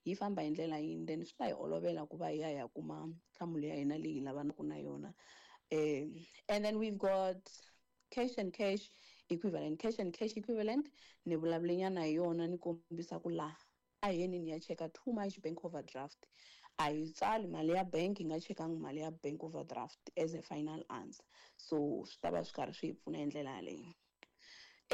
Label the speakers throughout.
Speaker 1: Yi famba hi ndlela yini, then swi ta hi olovela ku va hi ya hi ya kuma nhlamulo ya hina leyi hi lavanaka na yona. And then we've got cash and cash equivalent. Cash and cash equivalent ni vulavule nyana hi yona, ni kombisa ku laha a hi yeni ni ya cheka too much bank overdraft. A hi tsali mali ya bank, hi nga chekangi mali ya bank overdraft as a final answer. So swi ta va swi karhi swi hi pfuna hi ndlela yaleyo.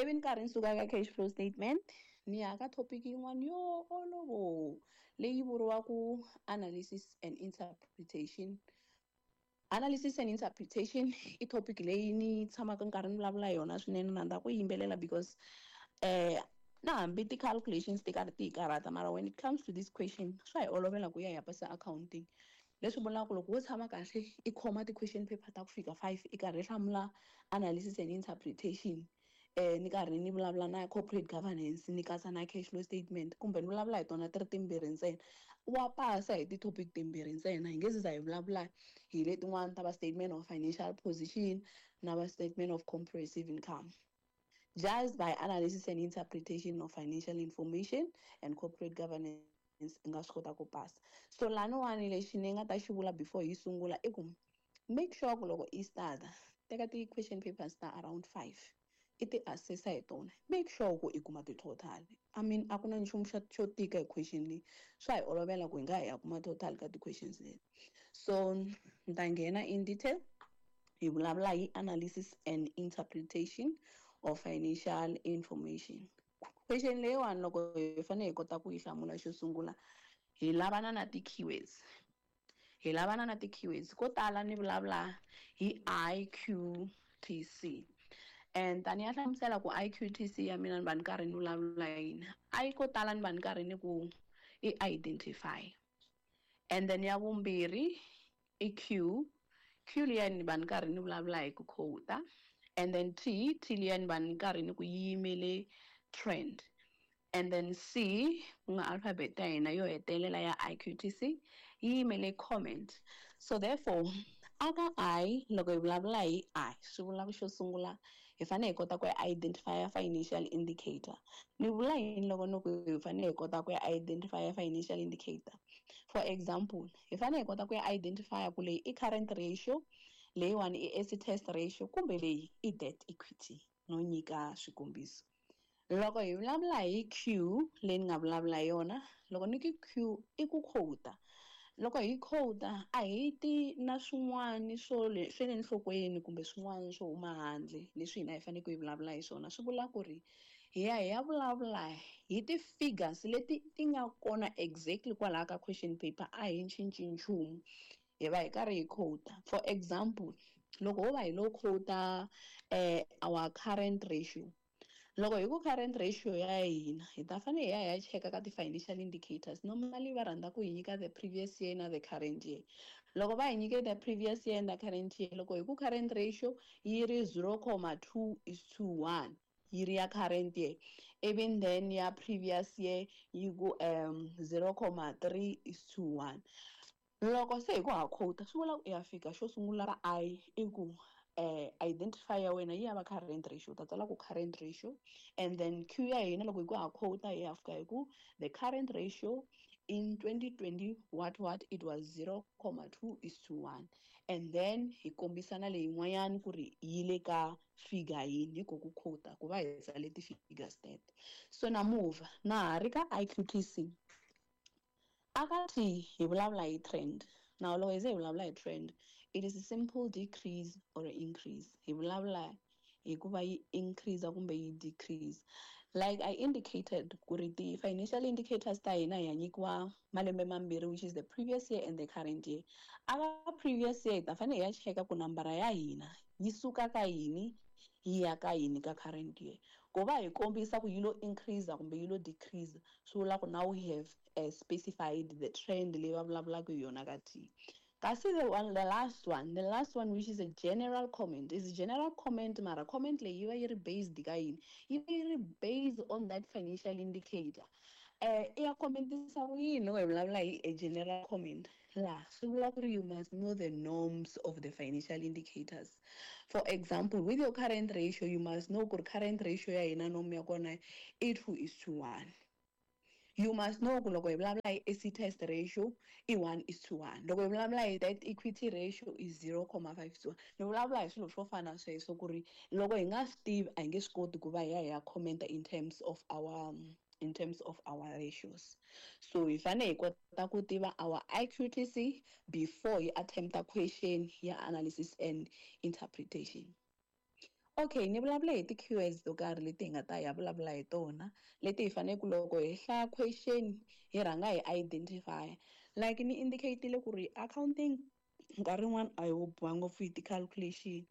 Speaker 1: Ivi ni karhi ni suka ka cash flow statement, ni ya ka topic yin'wana yo olovo leyi vuriwaka analysis and interpretation. Analysis and interpretation i topic leyi ni tshamaka nkarhi ni vulavula hi yona swinene, na rhandza ku yimbelela because na hambi ti-calculations ti karhi ti hi karhata, mara when it comes to this question swa hi olovela ku ya hi ya pasa accounting. Leswi vulaka ku loko wo tshama kahle i khoma ti-question paper ta ku fika 5 i karhi i hlamula analysis and interpretation, ni karhi ni vulavula na corporate governance, ni katsa na cash flow statement, kumbe ni vulavula hi tona ti ri timbirhi ntsena, wa pasa hi ti-topic timbirhi ntsena. Hi nge se za hi vulavula hi letin'wana ta va statement of financial position na va statement of comprehensive income. Just by analysis and interpretation of financial information and corporate governance i nga swi kota ku pasa. So laniwani lexi ni nga ta xi vula before hi sungula i ku make sure ku loko i start teka ti-question papers ta around 5 i ti assessa hi tona, make sure ku i kuma ti-total. I mean, a ku na nchumu xo tika hi question leyi, swa hi olovela ku hi nga hi ya kuma total ka ti-questions leti. So ni ta nghena in detail hi vulavula hi analysis and interpretation of financial information. Question leyiwani loko hi fanele hi kota ku yi hlamula, xo sungula hi lavana na ti-keywords. Hi lavana na ti-keywords ko tala ni vulavula hi IQTC. And tani ya hlamusela ku IQTC ya mina ni va ni karhi ni vulavula yini. I ko tala ni va ni karhi ni ku i identify. And then ya vumbirhi i Q. Q liya ni va ni karhi ni vulavula hi ku quota. And then T, T liya ni va ni karhi ni ku yimele trend. And then C, ku nga alphabet ya hina yo hetelela ya IQTC, yi yimele comment. So therefore, aka I, loko hi vulavula hi I, swi vula ku xo sungula hi fanele hi kota ku identify financial indicator. Ni vula yini loko ni ku hi fanele hi kota ku identify financial indicator? For example, hi fanele hi kota ku identify ku leyi i current ratio, leyiwani i acid test ratio, kumbe leyi i debt equity, no nyika swikombiso. Loko hi vulavula hi Q leyi ni nga vulavula hi yona, loko ni ku Q i ku quota. Loko hi quota a hi ti na swin'wana swo le swe le nhlokweni kumbe swin'wana swo huma handle leswi hina hi faneleke hi vulavula hi swona. Swi vula ku ri hi ya hi ya vulavula hi ti-figures leti ti nga kona exactly kwalaya ka question paper, a hi cinci nchumu, hi va hi karhi hi quota. For example, loko ho va hi lo quota our current ratio, loko hi ku current ratio ya hina hi ta fanele hi ya hi ya cheka ka ti-financial indicators. Normally va rhandza ku hi nyika the previous year na the current year. Loko va hi nyike the previous year and the current year, loko hi ku current ratio yi ri 0.2 is to 1, yi ri ya current year, even then ya previous year yi ku 0.3 is to 1. Loko se hi ku ha quota, swi vula ku i ya fika xo sungula ka I i ku identify ya wena yi ya va current ratio, u ta tsala ku current ratio. And then Q ya hina loko hi ku ha quota hi ya fika hi ku the current ratio in 2020 what it was 0.2 is to 1, and then hi kombisa na leyin'wanyani ku ri yi le ka figure yini, hi ku quota ku va hi tsale ti-figures teto. So na move na ha ri ka IQTC. Aka T hi vulavula hi trend. Now loko hi ze hi vulavula hi trend, it is a simple decrease or increase. Hi vulavula hi ku va yi increase kumbe yi decrease. Like I indicated ku ri ti-financial indicators ta hina hi ya nyikiwa malembe mambirhi, which is the previous year and the current year. Aka previous year hi ta fanele hi ya cheka ku nambara ya hina yi suka ka yini yi ya ka yini ka current year. Ku va hi kombisa ku yi lo increase kumbe yi lo decrease, swi vula ku now we have specified the trend leyi va vulavulaka hi yona ka T. Kasi the one, the last one which is a general comment, is a general comment, mara comment leyi yi va yi ri based ka yini? Yi va yi ri based on that financial indicator. I ya commentisa ku yini loko hi vulavula hi a general comment? La swi vula ku ri you must know the norms of the financial indicators. For example, with your current ratio, you must know ku ri current ratio ya hina norm ya kona i 2 is to 1. You must know ku loko hi vulavula hi acid test ratio i 1:1, loko hi vulavula hi debt equity ratio i 0.521. Ni vulavula hi swilo swo fana sweswo ku ri loko hi nga swi tivi a hi nge swi koti ku va hi ya hi ya commenta in terms of our ratios. So hi fanele hi kota ku tiva our IQTC before hi attempta question ya analysis and interpretation. Okay, ni vulavula hi ti-keywords to karhi leti hi nga ta ya vulavula hi tona, leti hi fanele ku loko hi hlaya question hi rhanga hi identify. Like ni indicate-ile ku ri accounting nkarhi wun'wani a hi wo biwa ngopfu hi ti-calculation,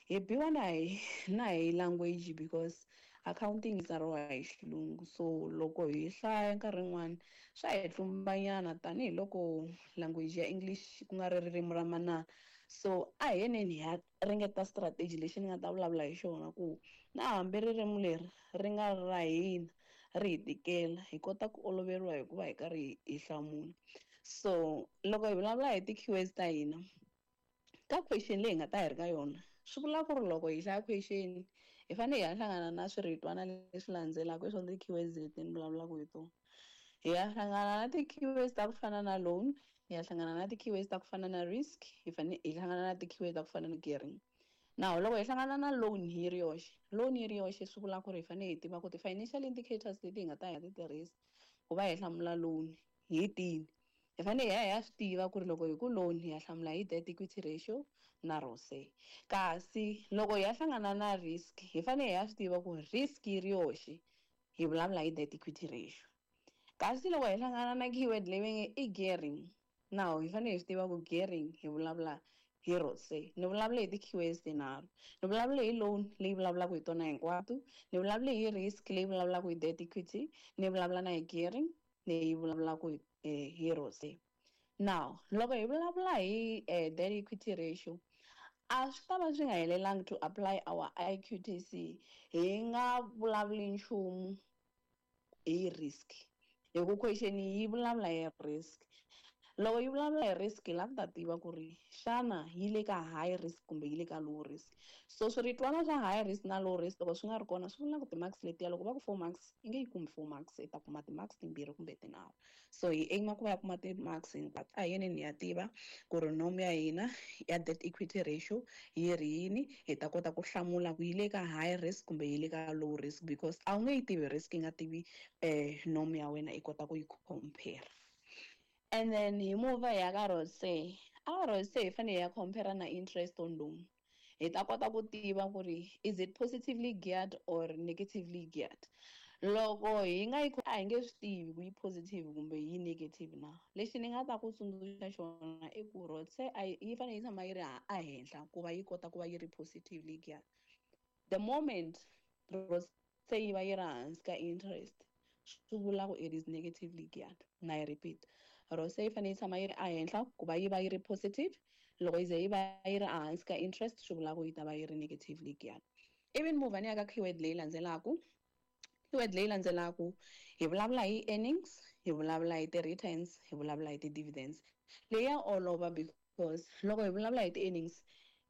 Speaker 1: hi biwa na hi language because accounting yi tsariwa hi xilungu. So loko hi hlaya nkarhi wun'wani swa hi tlumbanyana, tanihiloko language ya English ku nga ri ririmi ra manana. So a hi yeneni hi ya ringeta strategy lexi ni nga ta vulavula hi xona, ku na hambi ririmi leri ri nga ri ra hina ri hi tikela, hi kota ku oloveriwa hi ku va hi karhi hi hlamula. So loko hi vulavula hi ti-keywords ta hina ka question leyi hi nga ta hi ri ka yona, swi vula ku ri loko hi hlaya question hi fanele hi ya hlangana na swiritwana leswi landzelaka. I swona ti-keywords leti ni vulavulaka hi tona. Hi ya hlangana na ti-keywords ta ku fana na loan, hi ya hlangana na ti-keywords ta ku fana na risk, hi fanele hi hlangana na ti-keywords ta ku fana na gearing. Now loko hi hlangana na loan yi ri yoxe, loan yi ri yoxe, swi vula ku ri hi fanele hi tiva ku ti-financial indicators leti hi nga ta hi ya ti tirhisa ku va hi hlamula loan hi tini. Hi fanele hi ya hi ya swi tiva ku ri loko hi ku loan hi ya hlamula hi debt equity ratio na ROCE. Kasi loko hi ya hlangana na risk, hi fanele hi ya swi tiva ku risk yi ri yoxe hi vulavula hi debt equity ratio. Kasi loko hi hlangana na keyword leyi va nge i gearing, now hi fanele hi swi tiva ku gearing hi vulavula hi ROCE. Ni vulavule hi ti-keywords tinharhu: ni vulavule hi loan leyi vulavulaka hi tona hinkwato, ni vulavule hi risk leyi vulavulaka hi debt equity, ni vulavula na hi gearing leyi vulavulaka hi ROCE. Now loko hi vulavula hi debt equity ratio, a swi ta va swi nga helelangi to apply our IQTC hi nga vulavuli nchumu hi risk, hi ku question yi vulavula hi risk. Loko yi vulavula hi risk, hi lava ku ta tiva ku ri xana yi le ka high risk kumbe yi le ka low risk. So swiritwana swa high risk na low risk loko swi nga ri kona, swi vula ku ti-marks letiya, loko va ku 4 marks, i nge yi kumi 4 marks, i ta kuma ti-marks timbirhi kumbe tinharhu. So hi aim ku va ya kuma ti-marks hinkwato. A hi yeneni hi ya tiva ku ri norm ya hina ya debt equity ratio yi ri yini, hi ta kota ku hlamula ku yi le ka high risk kumbe yi le ka low risk, because a wu nge yi tivi risk i nga tivi norm ya wena i kota ku yi compare. And then hi move hi ya ka ROCE. A ROCE hi fanele hi ya compare na interest on loan, hi ta kota ku tiva ku ri is it positively geared or negatively geared. Loko hi nga yi, a hi nge swi tivi ku yi positive kumbe yi negative. Na lexi ni nga ta ku tsundzuxa xona i ku ROCE a yi fanele yi tshama yi ri a henhla ku va yi kota ku va yi ri positively geared. The moment ROCE yi va yi ri hansi ka interest, swi vula ku it is negatively geared. Na yi repeat, ROCE yi fanele yi tshama yi ri ehenhla ku va yi va yi ri positive. Loko yi ze yi va yi ri ehansi ka interest, swi vula ku yi ta va yi ri negatively geared. Ivi ni move ni ya ka keyword leyi landzelaku. Keyword leyi landzelaku, hi vulavula hi earnings, hi vulavula hi ti-returns, hi vulavula hi ti-dividends. Leyi ya olova because loko hi vulavula hi ti-earnings,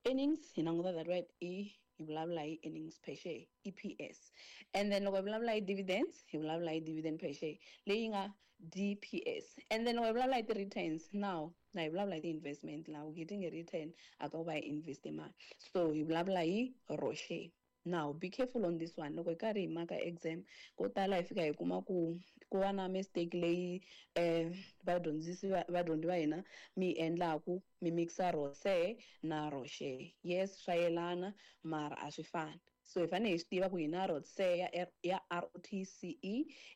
Speaker 1: earnings hi languta that word e, hi vulavula hi earnings per share, EPS. And then loko hi vulavula hi dividends, hi vulavula hi dividend per share leyi nga DPS. And then loko hi vulavula hi ti-returns, now na hi vulavula hi ti-investment la we getting a return a ka ku va hi investe mali, so hi vulavula hi ROCE. Now be careful on this one. Loko hi karhi hi maka exam, ko tala hi fika hi kuma ku ku va na mistake leyi vadyondzisi, vadyondzi va hina mi endlaku, mi mixa ROCE na ROCHE. Yes, swa yelana, mara a swi fani. So hi fanele hi swi tiva ku hi na ROCE ya ROTCE,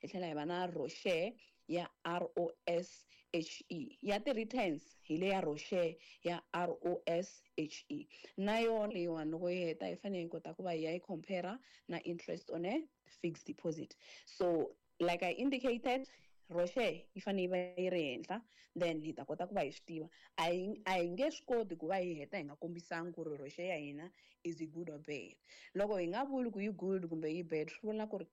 Speaker 1: hi tlhela hi va na ROCHE ya ROSHE. Ya ti-returns hi le ya ROCHE ya ROSHE. Na yona leyiwani loko yi heta, hi fanele hi kota ku va hi ya yi compare na interest on a fixed deposit. So like I indicated, ROCE yi fanele yi va yi ri henhla, then hi ta kota ku va hi swi tiva. A hi nge swi koti ku va hi heta hi nga kombisangi ku ri ROCE ya hina is it good or bad. Loko hi nga vuli ku yi good kumbe yi bad, swi vula ku ri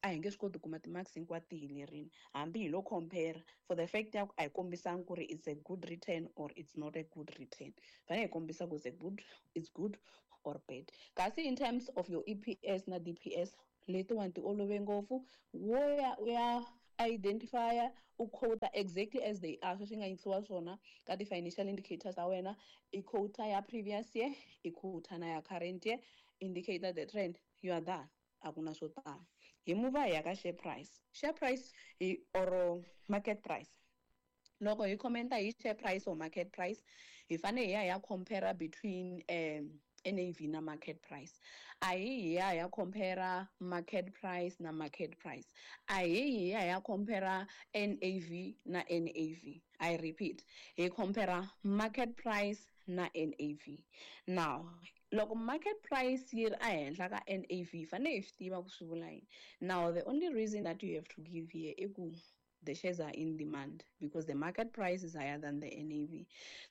Speaker 1: a hi nge swi koti ku kuma ti-marks hinkwato ti helerile, hambi hi lo compare for the fact ya ku a hi kombisangi ku ri it's a good return or it's not a good return. Fanele hi kombisa ku it's good or bad. Kasi in terms of your EPS na DPS, letiwani ti olove ngopfu. Wo ya u ya Identify, u quote exactly as they are, sweswi nga yingisiwa swona ka ti-financial indicators ta wena. I quote ya previous year, i quote na ya current year, indicator the trend, you are done. A ku na swo tala. Hi move hi ya ka share price. Share price hi or market price. Loko hi commenta hi share price or market price, hi fanele hi ya hi ya compare between NAV na market price. A hi hi ya hi ya compare market price na market price. A hi hi ya hi ya compare NAV na NAV. I repeat, hi compare market price na NAV. Now, loko market price yi ri ehenhla ka NAV, fanele hi swi tiva ku swi vula yini. Now, the only reason that you have to give here i ku the shares are in demand because the market price is higher than the NAV.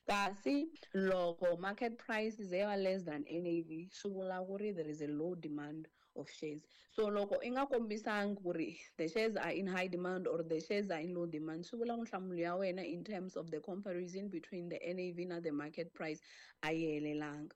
Speaker 1: Kasi loko market price is ever less than NAV, swi vula ku ri there is a low demand of shares. So loko i nga kombisangi ku ri the shares are in high demand or the shares are in low demand, swi vula ku nhlamulo ya wena in terms of the comparison between the NAV na the market price a yi helelanga.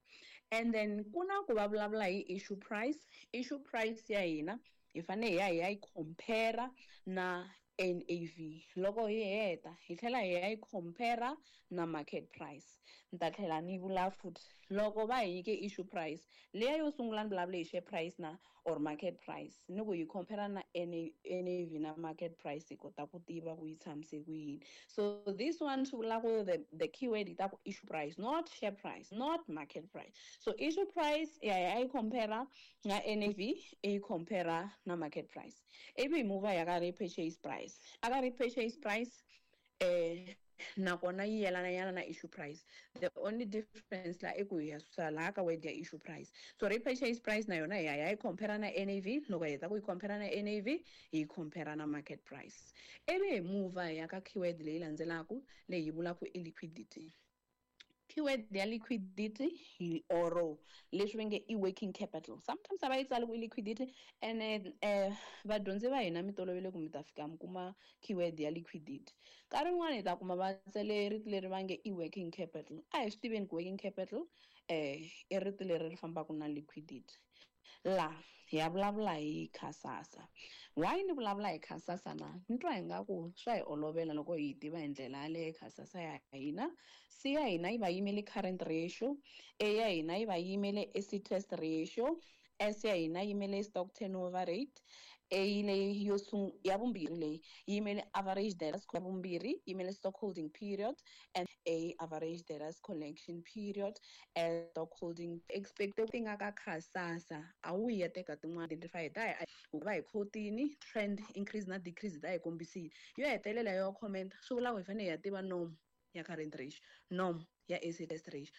Speaker 1: And then ku na ku va vulavula hi issue price. Issue price ya hina hi fanele hi ya hi ya yi compare na NAV. Loko hi heta, hi tlhela hi ya yi compare na market price. Ni ta tlhela ni vula futhi, loko va hi nyike issue price leya yo sungula, ni vulavule hi share price na or market price, ni ku hi compare na NAV na market price, hi kota ku tiva ku yi tshamise ku yini. So this one swi vula ku the keyword yi ta ku issue price, not share price, not market price. So issue price ya ya yi compare na NAV, yi compare na market price. Ivi hi move ya ka repurchase price. Aka repurchase price, nakona yi yelana yana na issue price. The only difference la i ku hi ya susa laha ka word ya issue price. So repurchase price na yona hi ya yi compare na NAV. Loko hi heta ku yi compare na NAV, hi yi compare na market price. Ivi hi move hi ya ka keyword leyi landzelaka, leyi yi vulaka i liquidity. Keyword ya liquidity hi or leswi va nge i working capital. Sometimes a va yi tsali ku i liquidity. Ene vadyondzi va hina mi tolovele ku mi ta fika mi kuma keyword ya liquidity. Nkarhi wun'wani hi ta kuma va tsale rito leri va nge i working capital. A hi swi tiveni ku working capital i rito leri ri fambaka na liquidity. La hi ya vulavula hi Kasasa. Why ni vulavula hi Kasasa na? Ni twa ingaku swa hi olovela loko hi yi tiva hi ndlela yaleyo Kasasa ya hina. C ya hina yi va yimele current ratio, A ya hina yi va yimele acid test ratio, S ya hina yimele stock turnover rate, A leyi yo ya vumbirhi leyi yimele average debtors, ya vumbirhi yimele stock holding period, and A average debtors collection period, and stock holding expected ti nga ka Kasasa. A wu ya teka tin'wana identify ta hi va hi quotini trend increase na decrease, ta hi kombisile. Yo hetelela yo comment, swi vula ku hi fanele hi ya tiva norm ya current ratio, norm ya acid test ratio,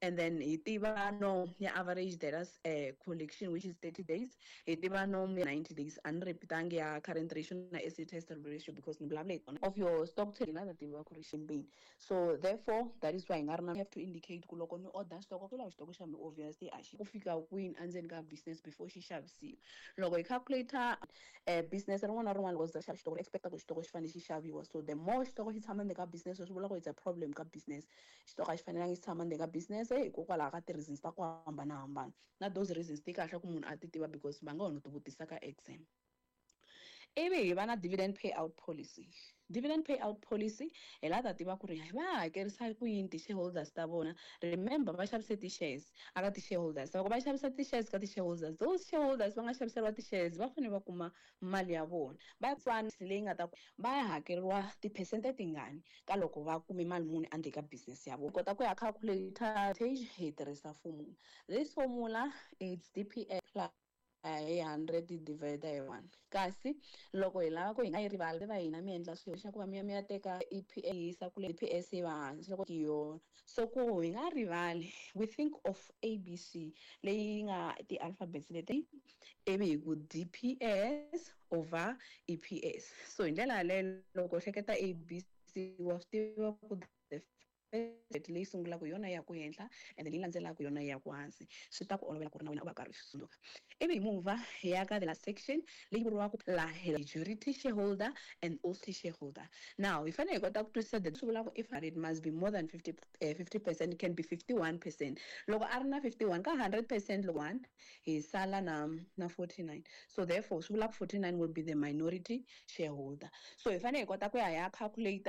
Speaker 1: and then hi tiva norm ya average debtors collection, which is 30 days. Hi tiva norm ya 90 days. A ni repeatangi ya current ratio na acid test ratio because ni vulavula hi tona of your stock turn na tiva ku ri ximbini. So therefore that is why hi nga ri na have to indicate ku loko ni order stock, ku lava xitoko xa mi obviously a xi ku fika kwini endzeni ka business before xi xavisiwa. Loko hi calculator business rin'wana na rin'wana, loko za xava xitoko, expecta ku xitoko xi fanele xi xaviwa. So the more xitoko xi tshama ndzeni ka business, swi vula ku it's a problem ka business. Xitoko a xi fanelangi xi tshama ndzeni ka business hikokwalaho ka ti-reasons ta ku hambanahambana, na those reasons ti kahle ku munhu a ti tiva because va nga ho no ti vutisa ka exam. Ivi hi va na dividend payout policy. Dividend payout policy, hi la ta tiva ku ri va hakerisa ku yini ti-shareholders ta vona. Remember, va xavise ti-shares aka ti-shareholders. Loko va xavisa ti-shares ka ti-shareholders, those shareholders va nga xaviseriwa ti-shares va fanele va kuma mali ya vona. Va tswana leyi nga ta va ya hakeriwa tiphesente tingani ka loko va kume mali muni endzeni ka business ya vona. Kota ku ya calculator page, hi tirhisa formula. This formula, it's DPS plus hi 100 divided hi 1. Kasi loko hi lava ku hi nga yi rivali, va hina mi endla swilo xa ku va mi ya mi ya teka EPS, yisa kule EPS yi va hansi loko yona. So ku hi nga rivali, we think of ABC leyi nga ti-alphabets leti, ivi hi ku DPS over EPS. So hi ndlela yaleyo loko u hleketa ABC, wa swi tiva ku the Leyi sungulaka yona ya ku henhla and then leyi landzelaka yona ya ku hansi. Swi ta ku olovela ku ri na wena u va karhi u swi tsundzuka. Ivi hi mova hi ya ka the last section leyi vuriwaka laha majority shareholder and also shareholder. Now hi fanele hi kota ku twisisa that swi vulaka if it must be more than 50, 50%, can be 51%. Loko a ri na 51 ka 100%, loko 1 hi sala na 49, so therefore swi vula ku 49 will be the minority shareholder. So hi fanele hi kota ku ya hi ya calculate.